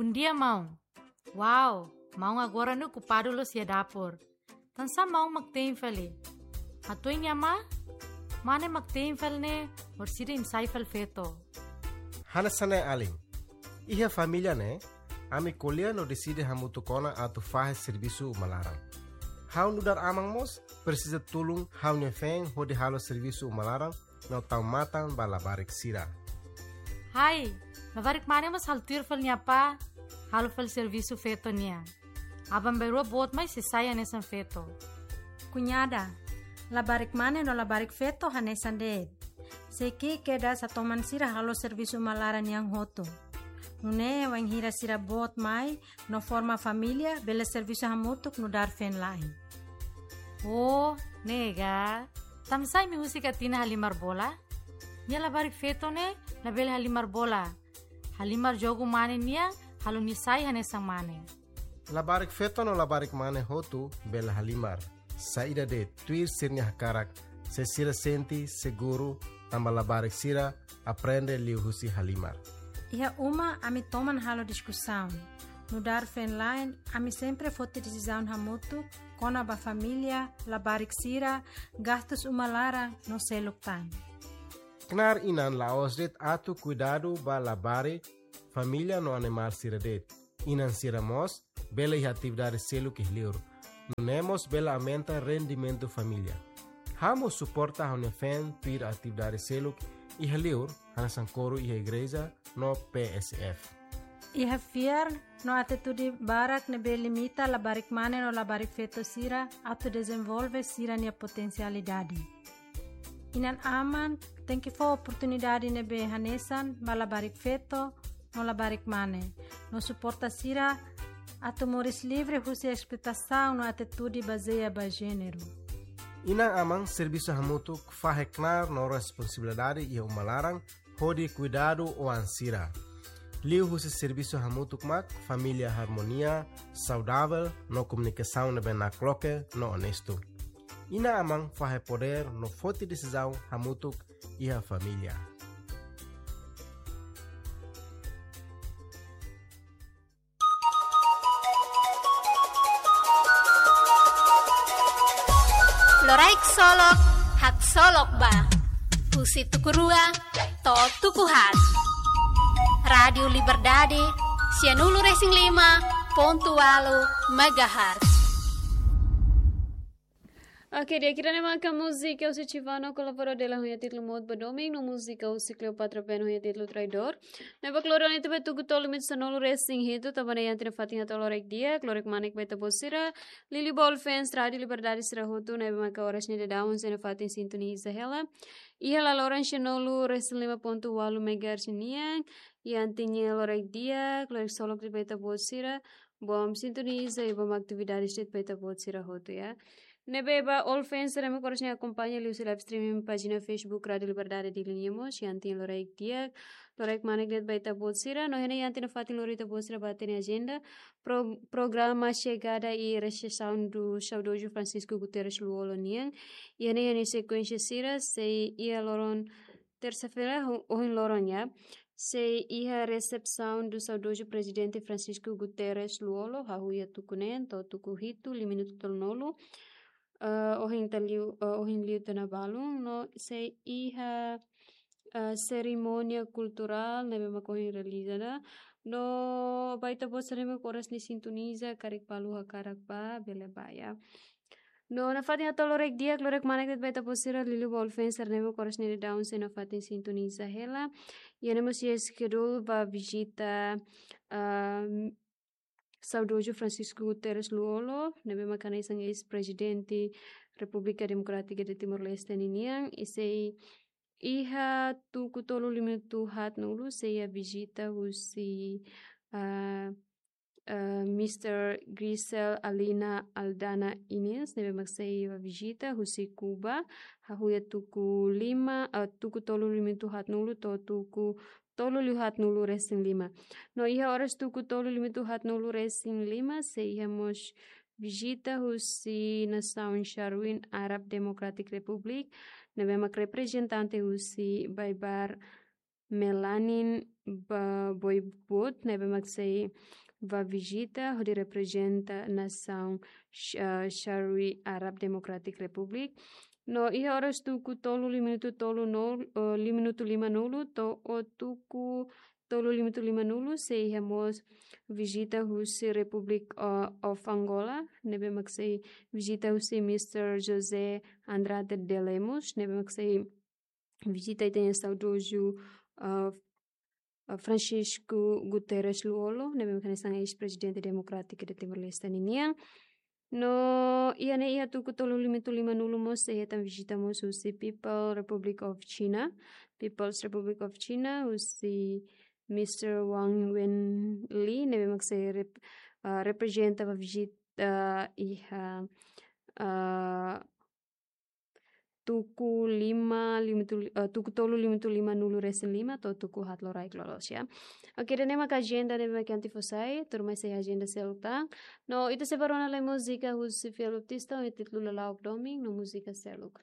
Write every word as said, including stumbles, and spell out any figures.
Bondia, maun. Wow, maun agora ne'e okupadu loos iha dapur. Tansá maun mak te'in fali? Hatudu nia ma, mane mak te'in fali ne'e, orsida imi sai fali feto. Hanesan ne'e alin. Iha família ne'e, ami ko'alia no deside hamutuk ona atu fahe servisu uma laran. Ha'u nu'udar aman mós, presiza tulun ha'u-nia feen hodi halo servisu uma laran, no tau matan ba labarik sira. Hai, labarik mane mós halo tuir fali nia apá, halo fali servisu feto nian. Aban-bainrua boot mai sei sai hanesan feto. Kuñada, labarik mane no labarik feto hanesan de'it. Sei ki'ik kedas atu toman sira halo servisu uma laran nian hotu. Nune'e wainhira sira boot mai, no forma família, bele servisu hamutuk nu'udar feen-la'en. Oh, ne'e ka. Tansá imi husik Atina halimar bola? Nia labarik feto ne'e, labele halimar bola. Halimar jogu mane nian, halo nia sai hanesan mane. Labarik feto no labarik mane hotu bele halimar. Saida de'it, tuir sira-nia hakarak, se sira sente seguru, tanba labarik sira aprende liuhusi halimar. Iha uma ami toman halo diskusaun. Nu'udar feen-la'en, ami sempre foti desizaun hamutuk, kona-ba família, labarik sira, gastus uma laran, no seluk tan. Knaar inan la'ós de'it atu kuidadu ba labarik, família no animál sira de'it. Inan sira mós bele iha atividade seluk iha liur. Nune'e mós bele aumenta rendimentu família. Ha'u mós suporta ha'u-nia feen tuir atividade seluk iha liur, hanesan koru iha igreja no P S F. Iha fiar no atitude barak ne'ebé limita labarik mane no labarik feto sira atu dezenvolve sira-nia potensialidade. Inan-aman tenke fó oportunidade ne'ebé hanesan ba labarik feto no labarik mane, no suporta sira atu moris livre husi esploitasaun no atitude bazeia ba jéneru. Inan-aman servisu hamutuk fahe knaar no responsabilidade iha uma laran hodi kuidadu oan sira. Liuhusi servisu hamutuk mak família harmonia, saudavel no komunikasaun ne'ebé nakloke no onestu. Inan-aman fahe podér no foti desizaun hamutuk iha família. Loraik Solok, haksolok ba. Husi tuku rua to'o tuku haat. Rádiu Liberdade, sianulu resin lima pontu ualu megahertz. Oke, di'ak, ida-ne'e maka múzika husi Chivano Colabora Dela ho nia títulu Mout ba Domin, no múzika husi Cleopatra Ben ho nia títulu Traidór. Ne'ebé klore ona iha tuku tolu limitu sanulu resin hitu, tanba ne'e iha tiha ona fatin hato'o loraik di'ak, klore kmanek ba ita-boot sira, liuliu ba all fans Rádiu Liberdade sira hotu, ne'ebé maka oras ne'e daudaun sei nafatin sintoniza hela. Iha laloran sianulu resin lima pontu ualu megahertz nian, iha tiha ona loraik di'ak, loraik solok de'it ba ita-boot sira, bom sintoniza i bom atividades de'it ba ita-boot sira hotu, ya. Ne'ebé ba all fans sira ne'ebé oras ne'e akompaña liuhusi live streaming pájina Facebook Rádiu Liberdade Dili nian mós, iha tiha ona loraik di'ak, loraik kmanek de'it ba ita-boot sira, no iha tiha ona fatin lori ita-boot sira ba hatene ajenda, pro-, programa Chegada e Recepção do saudoso Francisco Guterres Lú-Olo nian, iha ne'e iha sekuénsia sira, sei iha loron tersa-feira, ho-, ohin loron, ya. Sei iha recepção do saudoso Presidente Francisco Guterres Lú-Olo, hahú iha tuku neen to'o tuku hitu, lima minutu tolunulu, eh, ohin ita liu, eh, ohin liu tiha ona balun, no sei iha, eh, serimónia kulturál ne'ebé mak ohin realiza ona, no ba ita-boot sira ne'ebé oras ne'e sintoniza, karik balu hakarak bá, bele bá, ya. No nafatin hato'o loraik di'ak, loraik kmanek de'it ba ita-boot sira, liuliu ba all fans sira ne'ebé oras ne'e daudaun sei nafatin sintoniza hela. Iha ne'e mós iha schedule ba vizita, ah, saudoso Francisco Guterres Lú-Olo, ne'ebé maka hanesan eis-prezidente Repúblika Demokrátika de Timor-Leste ninian, i sei iha tuku tolu limitu haatnulu, sei iha vizita husi, ah, eh, Mister Grisel Alina Aldana Inês, ne'ebé mak sei bá vizita husi Kuba, hahú iha tuku lima, eh, tuku tolu limitu haatnulu to'o tuku tolu liu haatnulu resin lima. No iha oras tuku tolu limitu haatnulu resin lima, sei iha mós vizita husi nasaun Sharuin Arab Democratic Republic, ne'ebé mak reprezentante husi Baibar Melanin Boibot, ne'ebé mak sei ba vizita hodi reprezenta nasaun Sh- ah, Sharia Arab Democratic Republic. No iha oras tuku tolu lima minutu tolu nol, eh, lima minutu lima nulu to'o tuku tolu lima minutu lima nulu sei iha mós vizita husi Republic, eh, of Angola, ne'ebé mak sei vizita husi Mister José Andrade de Lemos, ne'ebé mak sei vizita ita-nia saudozu, eh, eh, Francisco Guterres Lú-Olo, ne'ebé mak hanesan eis-prezidente demokrátiku de Timor-Leste ninian. No iha ne'e iha tuku tolu lima minutu lima nulu mós sei hetan vizita mós husi People Republic of China, People's Republic of China, husi Mister Wang Wenli, ne'ebé mak sei rep- ah, reprezenta ba vizita iha, ah, tuku lima lima tu- ah, tuku tolu lima minutu lima nulu resin lima to'o tuku haat loraik loloos, ya. Oke, ida-ne'e mak ajenda ne'ebé mak ami fó sai, tuirmai sei ajenda seluk tan. No ita sei bá rona lai múzika husi Fiel Baptista, ho títulu Lala'ok Domin, no múzika seluk.